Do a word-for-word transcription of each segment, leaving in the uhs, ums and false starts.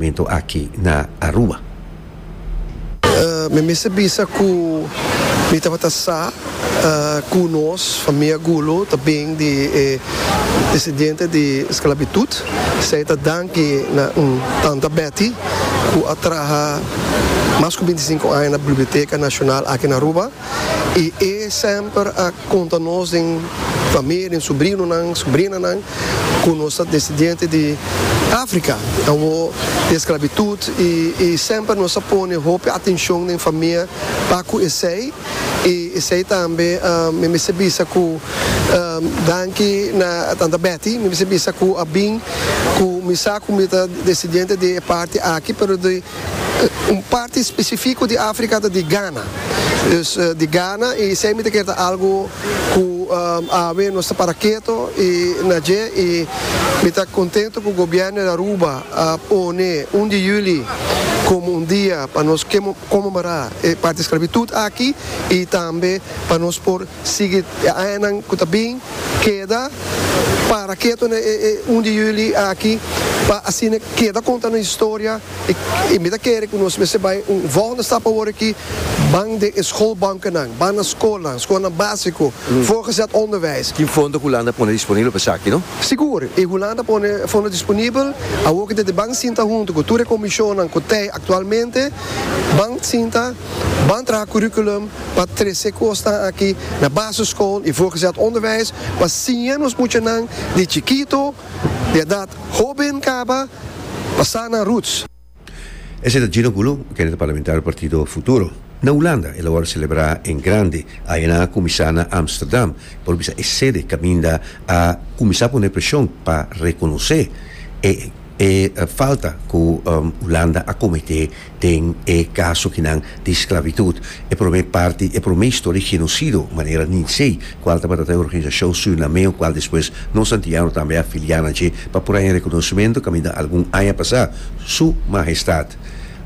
Aki na Aruba. Uh, mi mester bisa ku mi tabata sa uh, ku nos, famia Goeloe, tambe di eh, descendiente di esclavitud. Esey ta danki na un tanta Betty, ku a traha mas ku binticinco aña na Biblioteca Nacional aki na Aruba. Y e semper a conta nos den famia, den sobrinonan, sobrinanan, ku nos ta descendiente di Afrika, anto di esclavitud y, y semper nos a pone hopi atencion den famia pa ku esey y esey tambe um, mi mester bisa ku um, danki na tanta Betty, mi mester bisa ku a bin ku mi sa ku mi ta descendiente di parti aki, pero di un parti specifico di Afrika, di Ghana. Dus uh, di Ghana y semper kier algo ku um, awe nos ta para keto y na dje y mi ta contento ku gobierno di Aruba a pone un di juli como un dia pa nos conmemora e parti di esclavitud aki y tambe pa nos por sigui añanan ku tambe keda para keto na un di juli aki pa asina keda conta e historia y, y mi ta kere ku nos mester bay un volgende stap awor aki, ban den schoolbanken, ban na scol, scol basico, mm. voortgezet onderwijs. Tin fondo ku Hulanda pone disponibel pa esaki, no? Sigur, y Hulanda pone fondo disponibel, awor ku ta ban sinta hunto ku tur e comision ku tin actualmente, ban sinta, ban traha curriculum pa trece cos aki na basisschool y voortgezet onderwijs, pa siña nos muchanan di chikito, di edad hoben caba, pasa na roots. Esey ta Gino Goeloe, cu ta parlamentario Partido Futuro. Na Hulanda, el a wordo celebra en grande, ey nan a cuminsa na Amsterdam, por bisa e sede caminda a cuminsa pone presion pa reconoce e e falta ku um, Hulanda a comete den e caso kinan di esclavitud. E prome parti, e prome historia di genocidio, manera NiNsee, cual tabata e organisacion Suriname, cual despues nos Antiano tambe a afilia na dje, pa por e reconocimento caminda algun aña pasa, Su Mahestad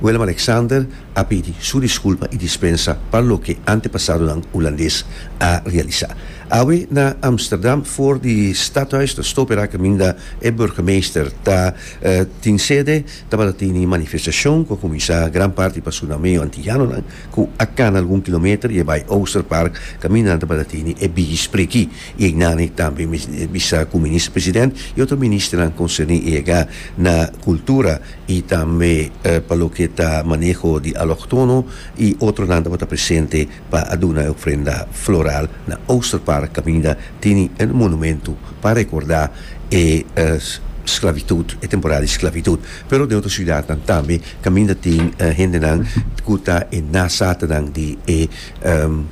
Willem Alexander a pidi su disculpa y dispensa pa loke antepasadonan hulandes a realisa. Awe na Amsterdam for di stadhuis, de stopera caminda e burgemeester ta uh, tin sede, tabata tin manifestacion ku a cuminsa gran parti pa Suriname Antiano ku a cana algun kilometer y bay Oosterpark caminda tabata tin e bespreking y nani tambe bisa ku minister president y otro ministernan concerni yega na cultura y tambe uh, pa loke ta maneho di aloctono y otronan tabata presente pa duna ofrenda floral na Oosterpark caminda tin un monumento pa recorda e uh, esclavitud, e temporada di esclavitud. Pero den otro ciudad tambe, caminda tin uh, hendenan ku ta e nazatennan di e um,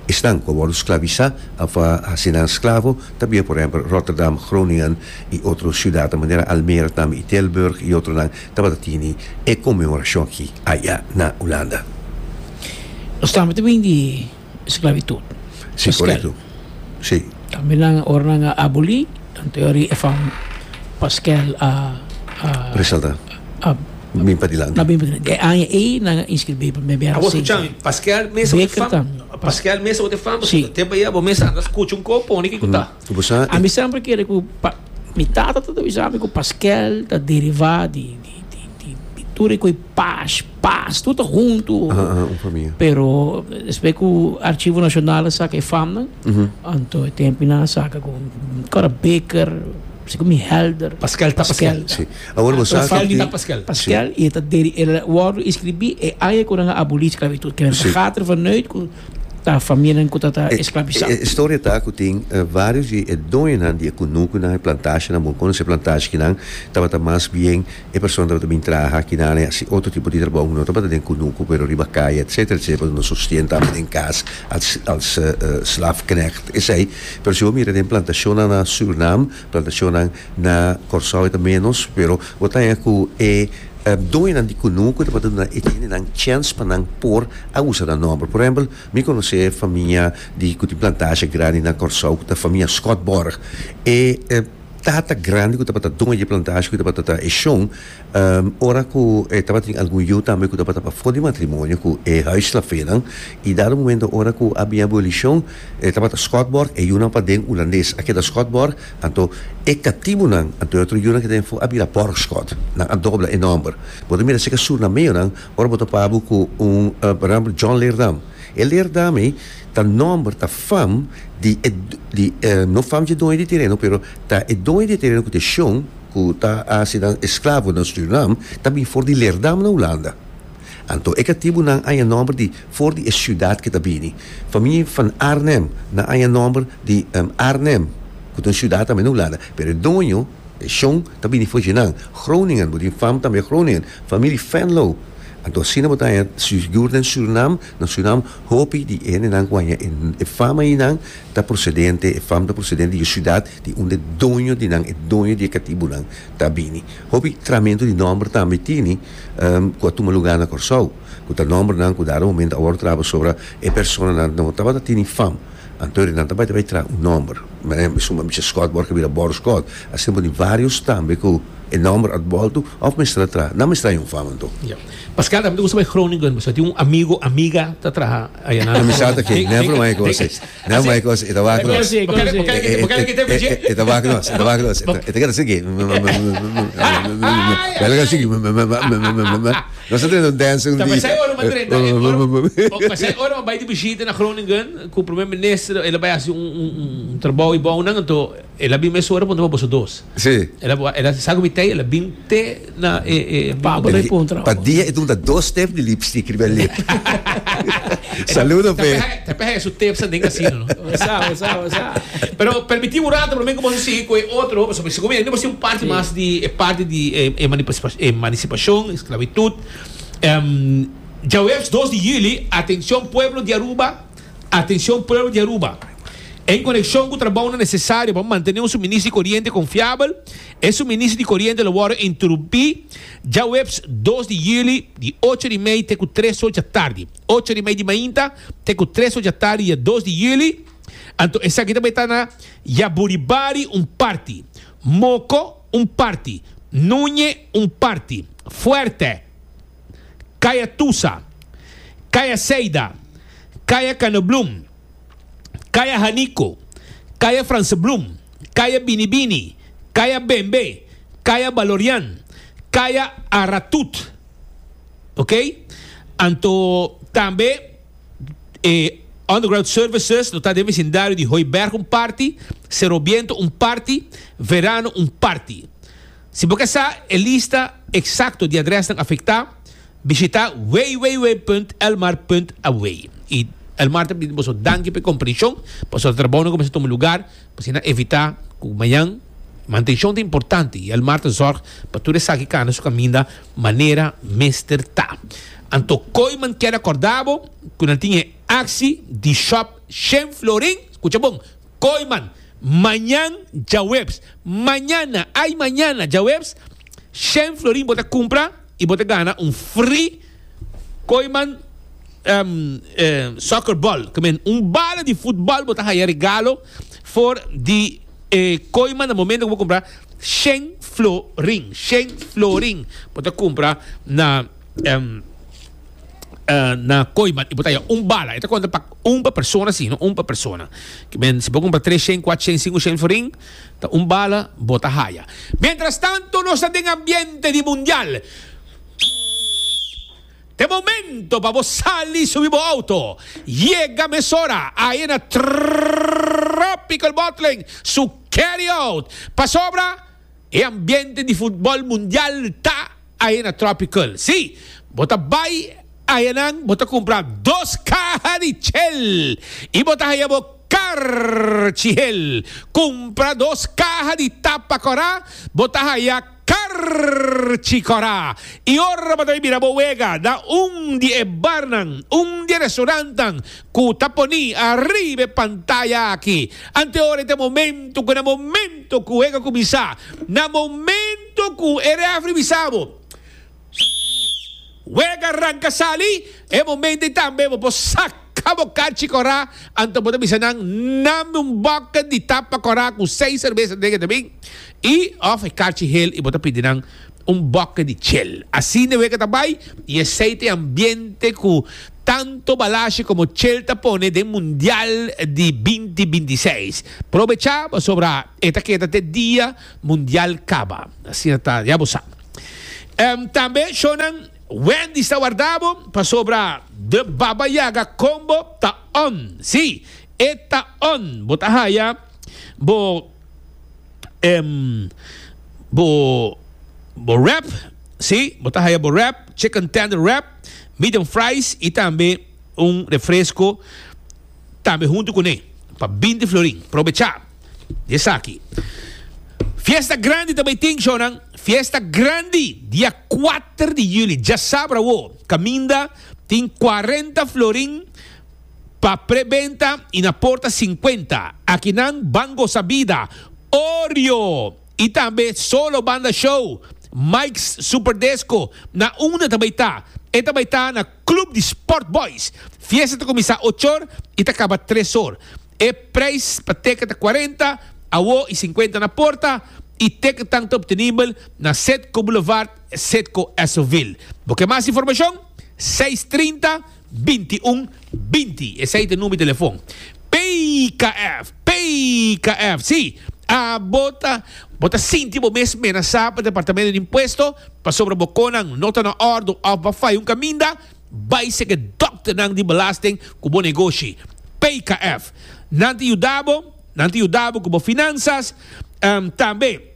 esnan ku a wordo esclavisa, of hasi nan esclavo, tambe por ehempel Rotterdam, Groningen y otro ciudad, manera Almere tambe, y Tilburg y otronan, tabata tin e conmemoracion aki aya na Hulanda. Nos tambe tin di esclavitud. Si, correcto. Si. Tambe nan ora nan a aboli, anto e fam Pascal a a Resalta. A bin padilanti. Na bin padilanti. E aña ey nan a inscribi pa mi Abo scucha, Pascal mes Beker fam. Tambe. Pascal mes o fam. Si. Tempo ya bo mes anda scucha un copo, ni ki ta. Bo sa, Ami semper a kere ku pa, mi tata ta bisa mi ku Pascal ta deriva di di di di, di tur ku paz, paz, tur ta hunto. Ah, ah, un famia. Pero despues ku Archivo Nacional a saca e famnan, Uhum. anto tempo nan a saca ku Cora Baker, segun mi Helder. Pascal ta Pascal. Si. Awor bo sa Pascal ku ta Pascal. Pascal y ta deri el a wordo inscribi e aña ku nan a aboli esclavitud. Cu Si. gaat ervan uit ku ta famianan ku ta esclavisa. E, e historia ta ku tin uh, varios di e doñonan di e kunukunan, e plantasjenan, bon konosé plantasjenan, tabata mas bien e persona tabata bin traha akinan, asina otro tipo di trabou, no tabata den kunuku, pero riba kaya, et cetera et cetera, no sosten tambe den kas als als uh, uh, slaafknecht, esei. Pero si bo mira den plantashonnan na Surinam, plantashonnan na Kòrsou ta menos, pero bo ta ku e um, doñonan di kunuku tabata duna e hendenan chance pa nan por a usa nan nomber. Por ehempel, mi konosé famia di ku tin plantage grandi na Kòrsou, ku ta famia Schotborg. E eh, tata grandi ku tabata doño di plantashi ku tabata ta e shon, ora ku e tabatin algun yu tambe ku tabata pafó di matrimonio ku e huisslavennan, i dado momento ora ku a bin abolishon e tabata Schotborg, e yunan paden hulandes a keda Schotborg, anto e katibunan, anto e otro yunan ku ta den afó a bira Borgschot, nan a dobla e nòmber. Bo ta mira seka surnameonan ora bo ta pabo ku un, por ehèmpel John Leerdam. E Leerdam ei ta nòmber, ta fam di e di no fam dje doño di tereno, pero ta e doño di e tereno ku ta e shon ku ta hasi nan esklavo na Surinam ta bin for di Leerdam na Hulanda. Anto e katibunan haña nòmber di for di e siudat ke ta bini. Famia van Arnhem nan haña nòmber di Arnhem ku ta un siudat tambe na Hulanda, pero e doño, e shon, ta bini for dje nan. Groningen, bo tin fam tambe Groningen, familie Venlo. Anto asina bo ta haña sigur den Surinam, na Surinam hopi di e hendenan ku haña e fama einan ta prosedente, e fam ta prosedente di e siudat di unda e doño di nan, e doño di e katibunan ta bini. Hopi tramentu di nòmber tambe tini ku a tuma lugá na Kòrsou, ku ta nòmbernan ku dado momento a wòrdu traha pasobra e personanan no tabata tini fam. Anto nan ta bai ta bai traha un nòmber. Esun a bisa Scott bo a bira Bòr Scott. Asina bo tin vários tambe ku e nòmber a bòltu òf mester a traha. Nan mester haña un fama anto. Ya. Pascal, ami ta gusta bai Groningen pasobra tin un amigo, amiga ta traha aya nan. Mi sa ta ke. Never mind kos ei. Never mind kos ei. E ta wak nos. E ta wak nos. E ta wak nos. E ta keda sigui. E ta keda sigui. Nos a drenta un dance un dia. Ta pasai ora mi a drenta, pasai ora mi a bai di bishita na Groningen ku primer minister, el a bai hasi un un trabou i bounan, anto el a bin mesora puntra pa boso dos. Sí. El a el a sa ku mi tei, el a bin te na e e Pabo lo puntra. Pa dia e dunta dos tep di lipstick riba e lip. Saludo p'e. Ta p'e haya su tipsnan den casino no. Sa, sa, sa. Pero permiti un rato prome ku boso sigui ku e otro, pasobra segun mi no bo sigui un parti mas di e parti di e emansipashon, esclavitud. Djaweps dos di juli, atencion pueblo di Aruba, atencion pueblo di Aruba. En konekshon ku trabounan nesesario pa mantené un suministro di koriente konfiabel, e suministro di koriente lo wòrdu interumpí djaweps dos di yüli di ocho di mei te ku tres or djatardi, ocho di mei di mainta te ku tres or djatardi dia dos di yüli. Anto esaki ta bai ta na Yaburibari un parti, Moko un parti, Nuñe un parti, Fuerte, Kaya Tusa, Kaya Seida, Kaya Kanoblum, Kaya Hanico, Kaya Franseblum, Kaya Binibini, Kaya Bembe, Kaya Balorian, Kaya Aratut. Ok? Anto tambe e Underground Services lo ta den vecindario di Hooiberg un parti, Cerro Biento un parti, Verano un parti. Si bo ke sa e lista eksakto di adrèsnan afektá, bishitá www punt elmar punt aw. I Elmar ta pidi boso danki pa e komprenshon, pasobra trabounan kuminsá tuma lugar pa asina evitá ku mañan mantenshon ta importante i Elmar ta zòrg pa tur esaki kana su kaminda manera mester ta. Anto Kooyman kier akòrdá bo ku nan tin e aksi di shòp shen florin, skucha bon, Kooyman, mañan djaweps, mañana, ay mañana djaweps, shen florin bo ta kumpra i bo ta gana un free Kooyman soccer ball, ke men un bala di futbal bo ta haya regalo for di e Kooyman na momento ku bo kumpra shen florin, shen florin bo ta kumpra na na Kooyman i bo ta haya un bala, e ta konta pa un pa persona si, no un pa persona, ke men si bo kumpra tres shen, kuater shen, sinku shen florin ta un bala bo ta haya. Mientras tanto nos ta den ambiente di mundial. T'e momento pa bo sali subi bo auto. Yega mesora aye na Tropical Bottling su Carry Out. Pasobra e ambiente di futbol mundial ta aye na Tropical. Si, bo ta bay ayenan bo ta cumpra dos caha di chel y bo ta haya bo karchi hel. Cumpra dos caha di tapa cora bo ta haya Karchi kòrá! I ora bo ta bai mira bo wega na un di e barnan, un di e restaurantnan ku ta poní ariba e pantaya aki. Ante ora e ta momento ku na momento ku wega kuminsá, na momento ku e rèfri bisa bo, Wega ranka sali, e momento ei tambe bo por sak. Buska bo karchi kòrá, anto bo ta bisa nan, Nami un bòket di tapa kòrá ku seis serbesa den e ta bin. I òf e karchi hel i bo ta pidi nan un bòket di chel. Asina e wega ta bai i esei ta e ambiente ku tanto Balashi komo Chel ta pone den Mundial di binti binti i seis. Probechá pasobra e ta keda te dia Mundial kaba. Asina ta, ya bo sa. Tambe shownan Wendy's ta warda bo pasobra The Baba Yaga Combo ta on. Sí, e ta on. Bo ta haya bo bo bo wrap, sí, bo ta haya bo wrap, chicken tender wrap, medium fries y tambe un refresco tambe hunto cune pa binti florin. Probecha di esaki. Fiesta grandi ta bay tin, shownan. Fiesta grandi dia kuater di juli, djasabra awo, caminda tin cuarenta florin pa prebenta y na porta sinkuenta. Akinan ban gosa bida, Oreo y tambe Solo Banda Show, Mike's Super Disco. Na unda ta bay ta? E ta bay ta na Club di Sport Boys. Fiesta ta cuminsa ochor y ta caba tresor. E prijs pa ticket ta cuarenta, awo y sinkuenta na porta y ticketnan ta obtenibel na Citgo Boulevard, Citgo Essoville. Bo ke mas informacion? Seis trinta, binti un, binti. Esey ta e number di telefon. P K F, P K F, si, abo ta, bo ta sinti bo mes menasa pa Departamento di Impuesto pasobra bo konan no ta na ordo of bo a faya un kaminda? Bai seke dokternan di belasting ku bo negoshi. P K F. Nan ta yuda bo, nan ta yuda bo ku bo finansas. Tambe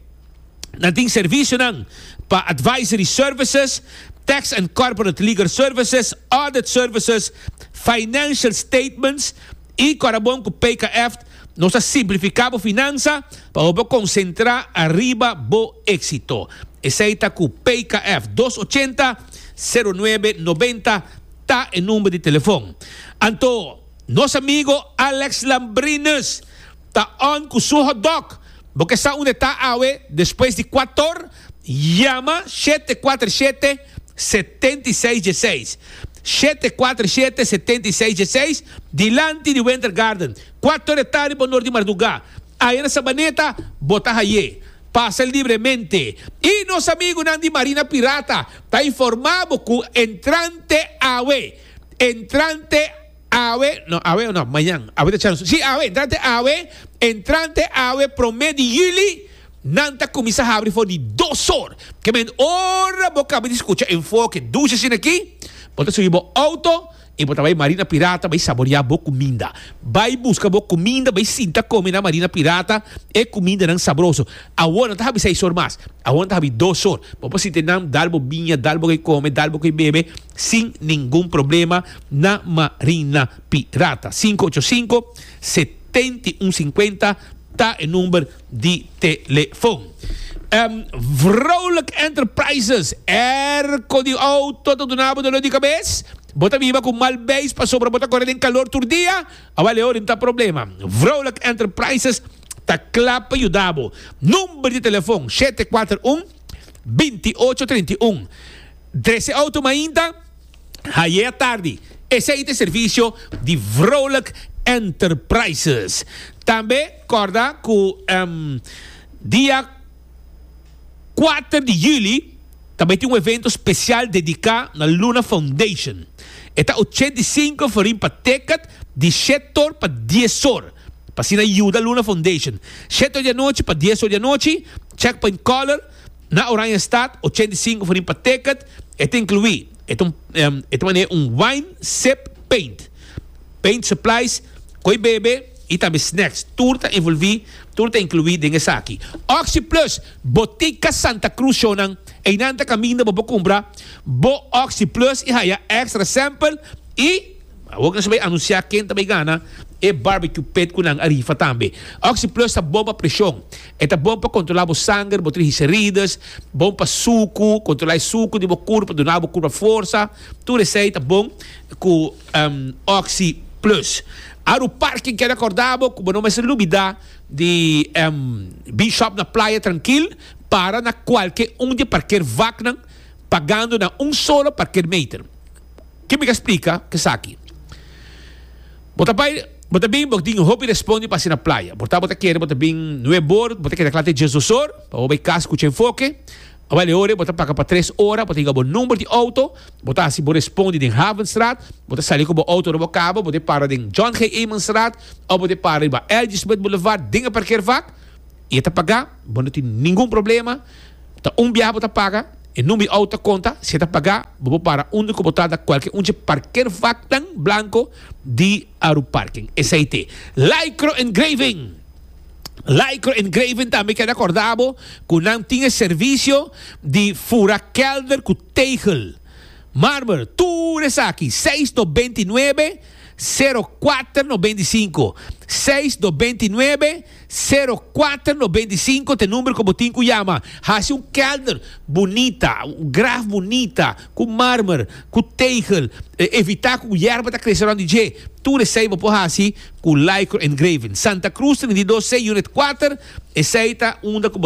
nan tin servisionan pa advisory services, tax and corporate legal services, audit services, financial statements i kòrda bon ku P K F nos ta simplifiká bo finansa pa bo por konsentrá ariba bo éksito. Esei ta ku P K F dos ochenta, sero nuebe, nobenta ta e number di telefon. Anto nos amigo Alex Lambrinus ta on ku su hotdog. Bo ke sa unda e ta awe despues di kuator? Yama shete kuater shete, setenta i seis dieseis. Shete kuater shete, setenta i seis dieseis, dilanti di Winter Garden. Kuator e tardi bo nor di mardugá. Aya na Sabaneta bo ta haye. Pasa libremente. I nos amigunan di Marina Pirata ta informá bo ku entrante awe, entrante awe, no awe o no, mañan, awe ta chance, sí awe, entrante awe, entrante awe promé di yüli, nan ta kuminsá habri for di dos or. Ke men ora bo kaba di skucha Enfoke dushi asina aki, bo ta subi bo outo i bo ta bai Marina Pirata bai saboriá bo kuminda. Bai buska bo kuminda, bai sinta kome na Marina Pirata e kumindanan sabroso. Awor nan ta habi seis or mas, awor nan ta habi dos or. Bo por sinti nan dal bo biña, dal bo ke kome, dal bo ke bebe sin ningun problema na Marina Pirata. Sinku ocho sinku, setenta i un sinkuenta ta e number di telefon. Vrolijk Enterprises, Airco di auto ta duna bo dolor di cabes? Bo ta biba cu mal beis pasobra bo ta core den calor tur dia? Awal e ora no ta problema. Vrolijk Enterprises ta cla pa yuda bo. Number di telefon, shete kuater un, binti ocho trinta i un. Drese auto mainta, haye atardi. Esey ta e servicio di Vrolijk Enterprises. Tambe corda cu dia kuater di juli ta bay tin un evento special dedica na Luna Foundation. E ta ochenta i sinku florin pa ticket di shete or pa dies or. Pa asina yuda Luna Foundation. Shete or di anochi pa dies or di anochi, Checkpoint Color na Oranjestad, ochenta i sinku florin pa ticket. E ta inclui, e ta un, e ta manera un wine sip paint. Paint supplies, koe bebe y tambe snacks. Tur ta envolvi, tur ta inclui den esaki. Oxi Plus, Botica Santa Cruz shownan. Eynan ta caminda bo por cumpra bo Oxi Plus y haya extra sample y awor cu nos ta bay anuncia ken ta bay gana e barbecue pit cu nan a rifa tambe. Oxi Plus ta bon pa presion. E ta bon pa controla bo sanger, bo triglicerides, bon pa sucu, controla e sucu di bo curpa, duna bo curpa forsa. Tur esey ta bon cu Oxi Plus. Aru Parking kier acorda bo cu bo no mester lubida di bin shop na Playa Trankil, para na cualke un di e parkeer vaknan pagando na un solo parkeermeter. Ke mi ka splika kesaki? Bo ta bai, bo ta bin, bo tin hopi respondi pa hasi na playa. Por ta bo ta kere bo ta bin nuebor, bo ta keda kla te diesdosor, pa bo bai kas skucha Enfoke. Awel e ora bo ta paka pa tres ora, bo ta hinka bo number di outo, bo ta hasi bo respondi den Havenstraat, bo ta sali ku bo outo ora bo kaba, bo ta para den John G. Emanstraat òf bo ta para riba L G. Smith Boulevard den e parkeervak i e ta pagá, bo no tin ningun problema, ta un biaha bo ta paga, e number di outo ta konta, si e ta pagá bo por para unda ku bo ta na kualke un dje parkeervaknan blanko di Aruparking. Esei te Lycro Engraving! Lycro Engraving tambe keda korda bo ku nan tin e servisio di fura kelder ku tegel, marmer, tur esaki, seis nobenta i nuebe, sero kuater nobenta i sinku, seis nobenta i nuebe, sero kuater nobenta i sinku ta e number ku bo tin ku yama. Hasi un kelder bunita, un graf bunita ku marmer, ku tegel, evita ku yerba ta krese rònt di dje. Tur esei bo por hasi ku Lycro Engraving. Santa Cruz trinta i dos C Unit kuater, esei ta unda ku bo.